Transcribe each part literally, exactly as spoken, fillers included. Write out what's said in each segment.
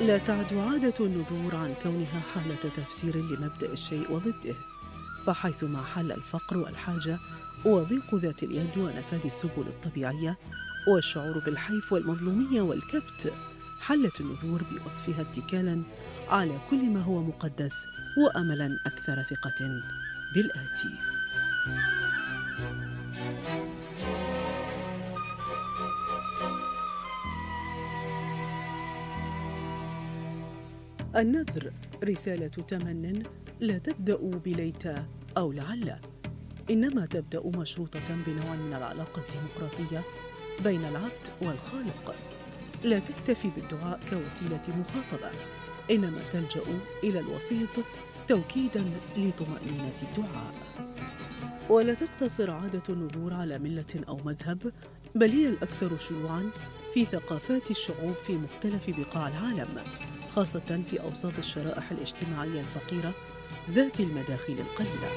لا تعد عادة النذور عن كونها حالة تفسير لمبدأ الشيء وضده، فحيثما حل الفقر والحاجة وضيق ذات اليد ونفاذ السبل الطبيعية والشعور بالحيف والمظلومية والكبت، حلت النذور بوصفها اتكالاً على كل ما هو مقدس وأملاً أكثر ثقة بالآتي. النذر رسالة تمن لا تبدأ بليت أو لعل، إنما تبدأ مشروطة بنوع من العلاقة الديمقراطية بين العبد والخالق، لا تكتفي بالدعاء كوسيلة مخاطبة، إنما تلجأ إلى الوسيط توكيداً لطمأنينة الدعاء. ولا تقتصر عادة النذور على ملة أو مذهب، بل هي الأكثر شيوعاً في ثقافات الشعوب في مختلف بقاع العالم، خاصة في أوساط الشرائح الاجتماعية الفقيرة ذات المداخل القليلة.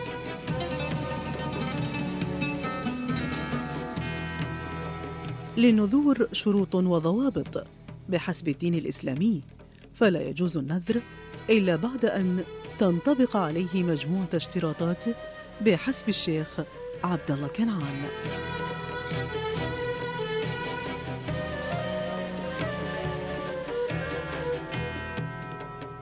للنذور شروط وضوابط بحسب الدين الإسلامي، فلا يجوز النذر إلا بعد أن تنطبق عليه مجموعة اشتراطات بحسب الشيخ عبد الله كنعان.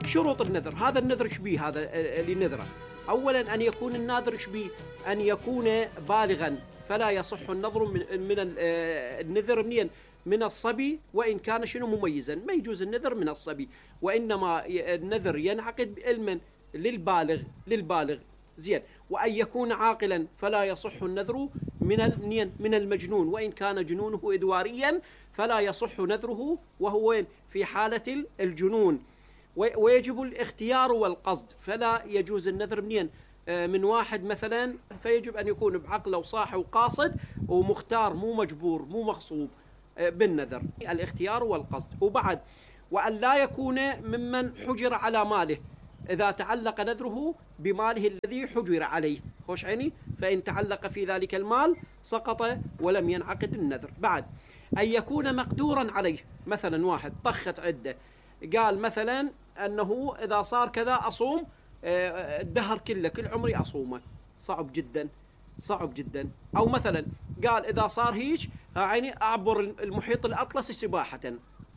شروط النذر. هذا النذر شبيه هذا اللي نذره. أولا أن يكون الناذر شبيه أن يكون بالغا، فلا يصح النذر من, من النذر منين؟ من الصبي، وإن كان شنو مميزا، ما يجوز النذر من الصبي، وإنما النذر ينعقد علما للبالغ للبالغ زين. وأن يكون عاقلا، فلا يصح النذر من من المجنون، وإن كان جنونه إدواريا فلا يصح نذره وهو في حالة الجنون. ويجب الاختيار والقصد، فلا يجوز النذر منين؟ من واحد مثلا، فيجب أن يكون بعقله وصاحي وقاصد ومختار، مو مجبور مو مغصوب بالنذر. الاختيار والقصد. وبعد وأن لا يكون ممن حجر على ماله، إذا تعلق نذره بماله الذي حجر عليه، خوش عيني، فإن تعلق في ذلك المال سقط ولم ينعقد النذر. بعد أن يكون مقدورا عليه، مثلا واحد طخت عدة، قال مثلا أنه إذا صار كذا أصوم الدهر كله، كل عمري أصومه، صعب جدا صعب جدا. أو مثلا قال إذا صار هيك عيني أعبر المحيط الأطلسي سباحة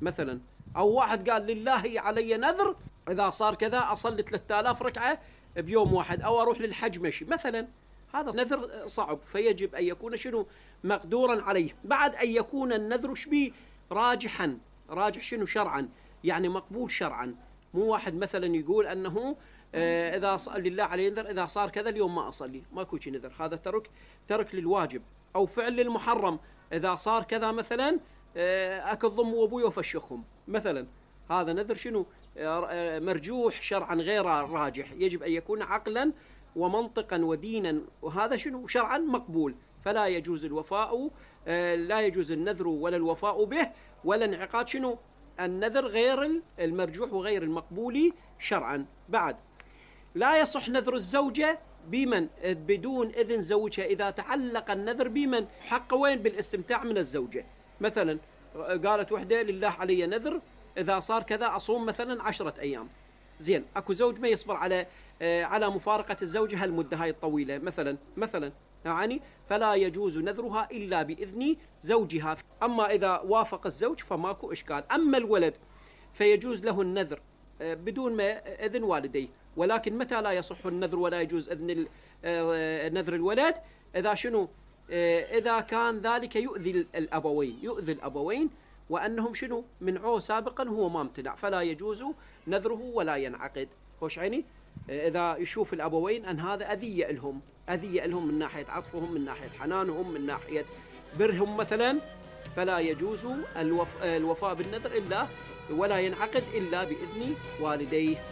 مثلا. أو واحد قال لله علي نذر إذا صار كذا أصلي ثلاثة آلاف ركعة بيوم واحد، أو أروح للحج مشي مثلا. هذا نذر صعب، فيجب أن يكون شنو؟ مقدورا عليه. بعد أن يكون النذر شبيه راجحا، راجح شنو؟ شرعا، يعني مقبول شرعا. مو واحد مثلا يقول أنه آه إذا صار لله علي نذر إذا صار كذا اليوم ما أصلي، ما يكون شي نذر، هذا ترك ترك للواجب. أو فعل للمحرم، إذا صار كذا مثلا آه أكل ضم وأبوي وفشخهم مثلا، هذا نذر شنو؟ آه مرجوح شرعا غير راجح. يجب أن يكون عقلا ومنطقا ودينا، وهذا شنو؟ شرعا مقبول. فلا يجوز الوفاء آه لا يجوز النذر ولا الوفاء به ولا انعقاد شنو؟ النذر غير المرجوح وغير المقبول شرعا. بعد لا يصح نذر الزوجة بمن؟ بدون إذن زوجها، إذا تعلق النذر بمن؟ حق وين؟ بالاستمتاع من الزوجة. مثلا قالت وحدة لله علي نذر إذا صار كذا أصوم مثلا عشرة أيام، زين، أكو زوج ما يصبر على على مفارقة الزوجة هالمدة هاي الطويلة مثلا مثلا يعني، فلا يجوز نذرها إلا بإذن زوجها. أما إذا وافق الزوج فماكو إشكال. أما الولد فيجوز له النذر بدون ما إذن والديه، ولكن متى لا يصح النذر ولا يجوز إذن نذر الولد؟ إذا شنو؟ إذا كان ذلك يؤذي الأبوين يؤذي الأبوين وأنهم شنو؟ منعوه سابقا هو ما امتنع، فلا يجوز نذره ولا ينعقد. خوش عيني، إذا يشوف الأبوين أن هذا أذية لهم أذية لهم من ناحية عطفهم، من ناحية حنانهم، من ناحية برهم مثلا، فلا يجوز الوف... الوفاء بالنذر إلا ولا ينعقد إلا بإذن والديه.